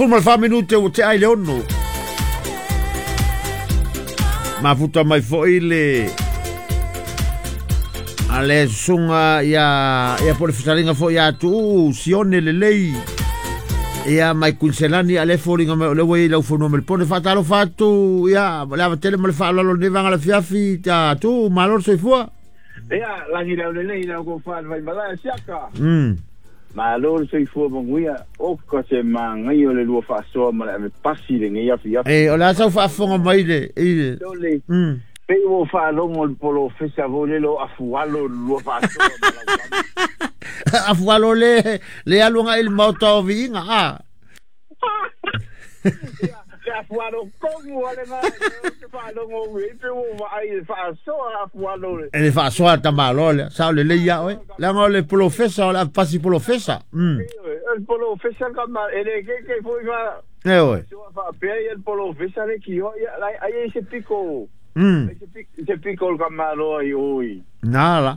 14 minute ua tea i le 6. Mafuta mai foi le a le susuga ia ia po le fetalaiga foi ia Tuuu Sione Lelei ia mai Kuiniselani a le foliga mai o le ua i ai lau fanua Melipone. Faatalofa atu ia le ava tele ma le faaaloalo i lenei vaega o le afiafi ia Tuuu, malo le soifua. Ia, lagi lau lelei lau kofa le vaimalae siaka. Malo le soifua manuia, oka se manaia o le lua faasoa ma le ave pasi i lenei afiafi. E, o le a sau faafofoga mai le, i le. Sole, pei ua ou faalogo i le polofesa foi lele o Afualo i le lua faasoa ma lau tama. Afualo le, le alu agai i le maota o Viiga, a. Ia, le Afualo tonu lava lena ou te faalogo i ai, pei ua ou vaai i le faasoa a Afualo. E le faasoa a tamaloa lea, sao lelei ia oe. Leaga o le polofesa, o le avepasi polofesa. Ioe, o le polofesa tama, e le keke foi ma Ioe. faasoa faapea ia le polofesa le kioa, ia, ai ai se piko, ai se piko o le tamaloa i o i. Na la.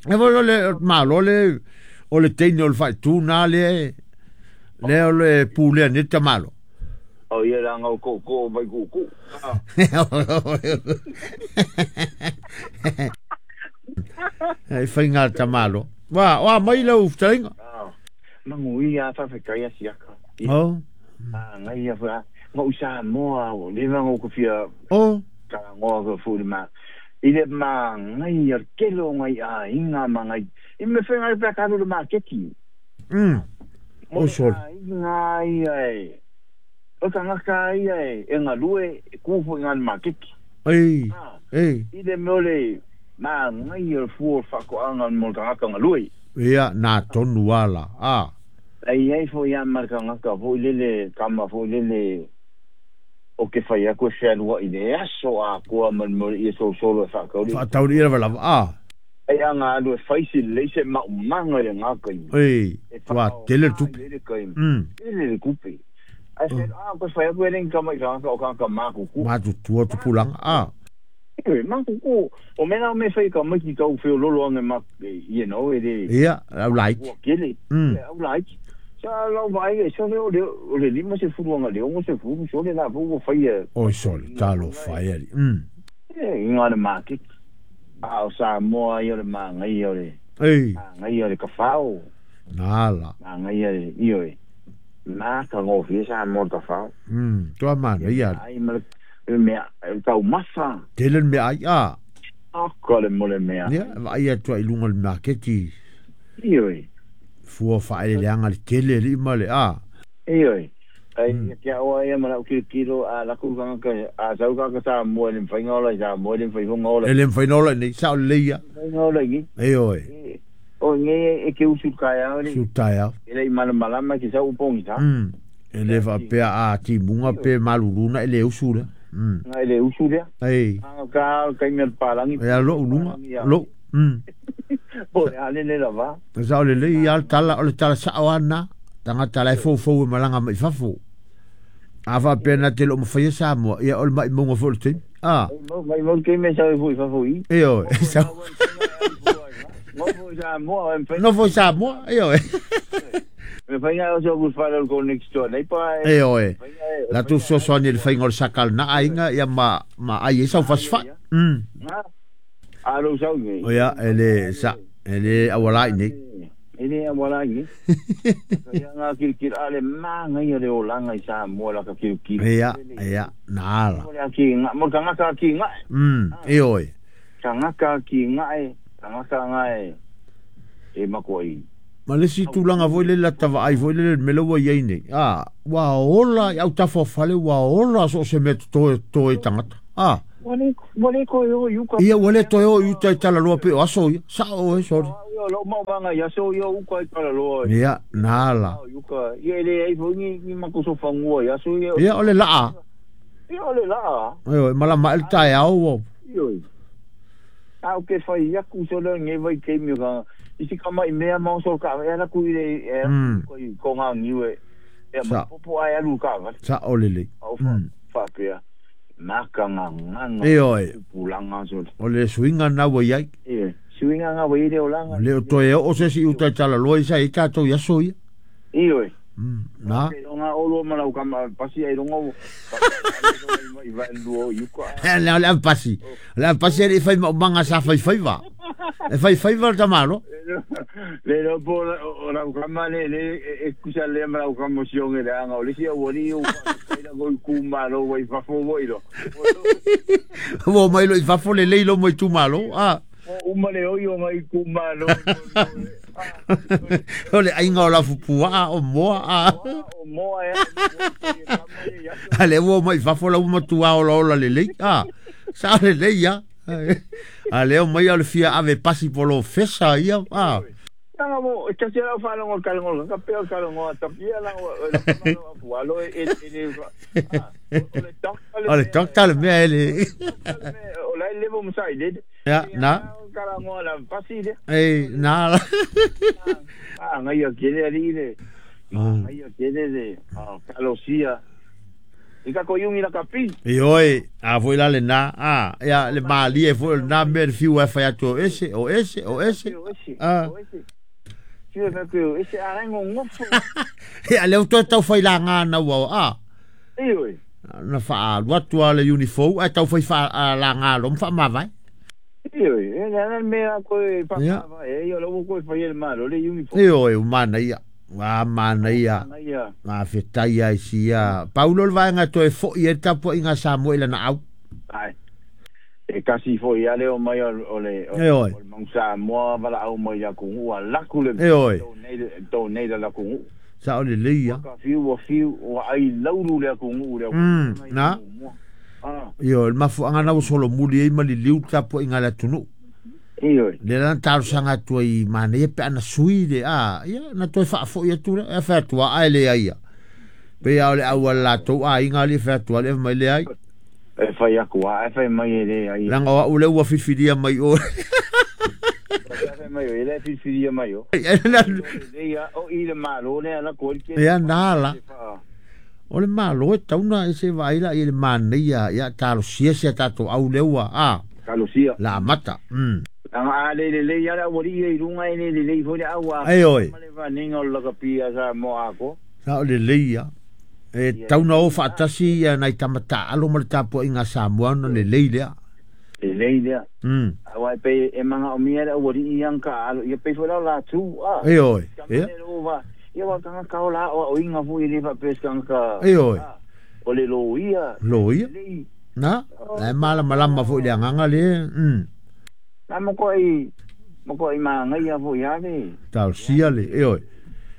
E foi o le malo le, o le teine o le faaitu na le, lea o le pulea nei le tamaloa. O ia leaga o tootoo mai tuutuu. E faiga a le tamaloa. Wa, o a mai lau fetalaiga? Manuia a faafetai a siaka. Oh. Ngai a fa ngau Samoa o le va ngau kofia. Oh. Talanoa ko fu le ma. I le ma ngai a kelo ngai a inga ma ngai. I me whenga i pea karu le maketi. O sole. Inga ia e. O tangata ia e, e ngalue e ku fo inga le maketi. Ei. Ei. I le mea o le ma ngai o le fua o le whakoanga mo le tangata ngalue. Ia, nā tonu ala. A. Ai ai fo ia ma le tangata fo i lele, kama fo i lele o ke whai aku e whealua i le aso a koa ma le mea o le ia solosolo e whaakauri. Whaatauri ia lava lava. A. Ai a ngā alu e whaisi lelei se maumanga i le ngā kaimi. Ei, E tua tele le tupe. I le kaimi. Tele le kupe. Ai whai, a, koe whai aku e lengi kama i tangata o kaka mākuku. Mātutua tupulanga, a. Ewe, mākuku, o mena o me whai ka maiki tau whio lolo ange ma, you know, e le. Ia, au laiti. Ua kele. Ia, au laiti. Sa lau vaai e sole o le, o le lima se fulu anga le ongo se fulu, sole la fou o whai e. Oi sole, talo whai ali. E, i ngā le māketi. A o Samoa ia o le māngai o le. Ei. Māngai o le kawhao. Nā la. Māngai o le, io e. Mā ka ngōwhia Samoa le kawhao. Toa māngai ia. Ai ma le mea, tau masa. Tele le mea ai, a. Aka le mo le mea. Ia, vaai atua i lunga le maketi. Io e. Fua whaeleleanga le tele li ma le, a. Io e. Ai kia oa ia ma lau kilokilo a laku kangaka a sau kaka Samoa e le mawhai ola i Samoa e le mawhai honga ola. E le mawhai ola nei, sao lelei ia. Mawhai ola i. E oe. O nge e ke usu kai au ni. Usu tai au. E lei malamalama ki sau upongi sa. E le whapea a timunga pe maluluna e le usu lea. Nga e le usu lea. Ei. Anga ka kai mea palangi. E a lou lunga. Lou. Po e ale le lava. Sao lelei ia le tala, o le tala sao ana. Tangata lai fou fou e malanga mai fafo. A whapea nā te lo mawhaia Samoa, ia o le mai maunga fo le teimi. A. Mai mau te me sau e fo i fafo i. E oe. Sau. Nofo i Samoa. Nofo i Samoa, e oe. Me whainga o so whare ko next door nei pa. E oe. La tu sosoani le whainga o le sakal na ainga ia ma ma ai e sau fasfa. A lo sau nei. O ia e le sa e le awalai nei. E le awalai nei. Ia ngā kirikiri a le māngai o le olanga i Samoa la ka kirikiri. Ia, ia, nā ala. Mo le aki ngā, mo ka ngaka ki ngā. E oe. Ka ngaka ki ngā e, ka ngaka ngā e, e makoa i. Ma le si tūlanga foi le la tava ai foi le me laua i ai nei. A, ua ola, i au tafa o fale, ua ola so se mea toe, toe tangata. A. Ua le toe o i uka. Ia, ua le toe o i uta i talaloa pe o aso ia. Sa o e, sorry. Ia, lo mau manga i aso ia uka i talaloa. Ia, nā la. Uka, ia le ai foi ni, ni makuso fangua i aso ia. Ia, o le laa. Ia, o le laa. Ia, malama e le tae au o. Ia, au ke whai aku so le nge vai ke mi ka. Isi ka mai mea mau so ka e ala ku i le e ko ngā niu e. E ma popo ai alu ka. Sa o le le. Au fa pea. Maka ngā nganga. E oe. Pulanga so. O le suinga nā wai ai. E, suinga ngā wai le olanga. O le o toe o se si utai tala loa isa i tātou i aso ia. E oe. Na. Nga olo ma lau kama pasi ai longa i va luo yuka. Le le pasi. Le pasi e fai manga sa fai fai va. E fai fai va tamalo. Le lo po o lau kama le le e kusa le ma lau kama sionge le anga o le sia wali o la go ku malo wai fafo wo ilo. Wo mai lo i fafo le leilo mo i tu malo. Ah. O uma le oi o ngai ku malo. O le ainga o la fupua o moa a. O moa e. Ale wo mai fafo la uma tua o la le lei. Ah. Sa le lei ya. Ale o mai o le fia ave pasi polo fesa ia. Ah. Tanga mo e kasi la fa longo kalongo ka pe kalongo tapia la o lo e e o le doctor le mea ele. O la levo mo sai le. Ya na. Kalongo la pasi le. Eh na. Ah ngai o kele ali le. Ngai o kele le. Ah kalosia. Ika ko yungi la kapi. Ioi, a foi la le na. Ah, ya le mali e foi na me fiu e fai atu ese o ese o ese. Ah. Fiu e fai ese a ngo ngofo. E le o tau fai la ngana ua ah. Ioi. Na fa alu atu le uniform ai tau fai fa la ngalo fa mavai. Ioi, e na me a ko e fa e yo lo ko fai el malo le uniform. Ioi, mana ia. Wa mana ia. Ngā whitai ai sia. Paulo le vaenga toe fo i e tapo i ngā Samoa i lana au. Ai. E kasi fo i ale o mai o le o le mang Samoa wala au mai a kungu a laku le. E oi. Tō nei la kungu. Sa o le leia. Ka fiu wa fiu wa ai lauru le kungu le. Na. Io, le mafu anga na solo muli e mali liu tapo i ngā la tunu. Ioi. Le lan talosaga atu ai manaia pe ana sui le a ia na toe faafo'i atu le e featua ae leai ia pe ia o le auala latou aiga ali e featua le mai leai e fai aku a e fai mai e leai laga o a'u le ua filifilia mai o e mai o e le filifilia mai o o i le malo le ala ko ia na la o le malo e tauna e se vaai la i le manaia ia talosia sia tatou au le ua a talosia la amata. Anga le le le ia wali i runga e le le fo le awa. Ai oi. Le va ninga o la kapia sa mo ako. Sa o le le ia. E tauna o faatasi ia nai tamata alo ma le tapo i ngā Samoa na le le lea. Le le lea. Awa e pe e manga o mia le wali i ang ka alo ia pe fo la la tu. Ai oi. Ia. Ia wa kanga ka o la o inga fu i le fa pe kanga ka. Ai oi. O le lo ia. Lo ia. Na. E mala malama fo le anganga le. Na mo ko i manga ia fo ia le. Tau sia le, e oi.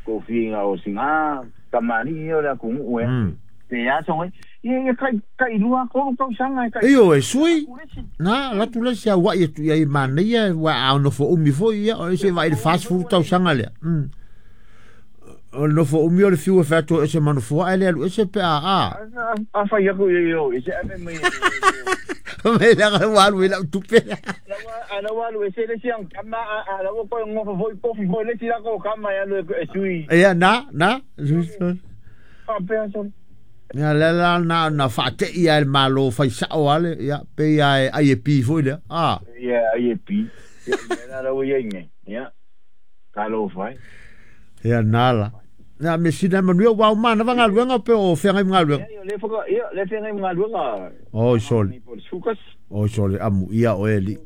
Ko whinga o singa, tamari o le kungu e. Te aso e, ia kai lua kolu kau sanga e kai. E oi, sui. Na, latu le sia wa ia tu ia i manaia, wa au nofo umi fo ia, o se vai le fast food tau sanga lea. O nofo umi o le fiu e whato e se manufoa e le alu e se pe a a. A whai aku ia o, e se ame mai. Me la walu e lau tupe. Ana walu e se le siang kama a la ko ngofo foi kofi foi le sila ko kama ya le e sui. Ia na na. Pa pe so. Ia le la na na fa te ia el malo fai sao ale ia pe ia ai e pi foi le. Ah. Ia ai e pi. Ia na la ia nge. Ia. Kalo fai. Ia na la. Na me sina manu wa mana va ngaluenga pe o fenga ngaluenga. Ia le foka ia le fenga ngaluenga. O sol. O sol amu ia o eli.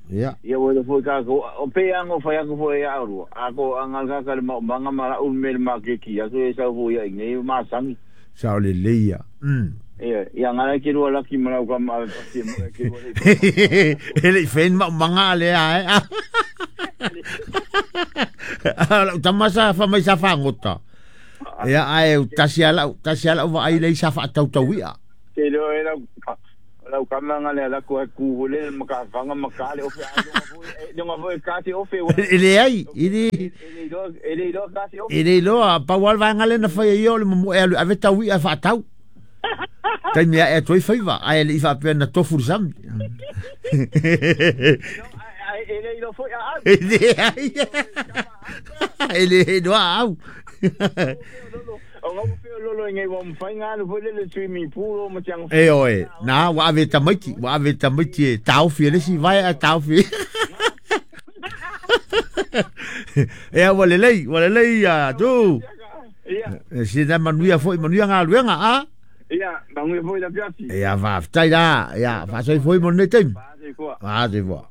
Ia. Ia o le foka ko o pe ango fa ko fo ia aru. A ko anga ka le manga mara un mel ma ke ki ia so sa fo ia nge ma sangi. Sa o le leia. Ia ia ngala ke ro la ki mara ka ma pa mo ke ro le. Ele fen ma manga le a. Ala tamasa fa mai sa fangota. Ia ai tasi ala wa ai le sa fa tau tau ia. Te lo era lau kama ngale ala ko ku le maka fanga maka le ofe a lo ka ti ofe ele ai ele ele lo ka ti ofe ele lo pa wal va ngale na fa yo le mo e ave tau ia fa tau. Tai mea e toi faiva ai le ifa pe na tofu sam. Ele lo foi a ele ai. Ele lo au. O ngau pe lolo ngai wa mfainga lo le swimming pool o matiang. E oi, na wa ave tamaiti tau fi le si vai a tau fi. E wa le lei a tu. Ia. Sina manuia foi manuia galuega a. Ia, manuia foi la fiafi. Ia, faafetai la. Ia, faasoifua mo lenei taimi. Faasoifua. Faasoifua.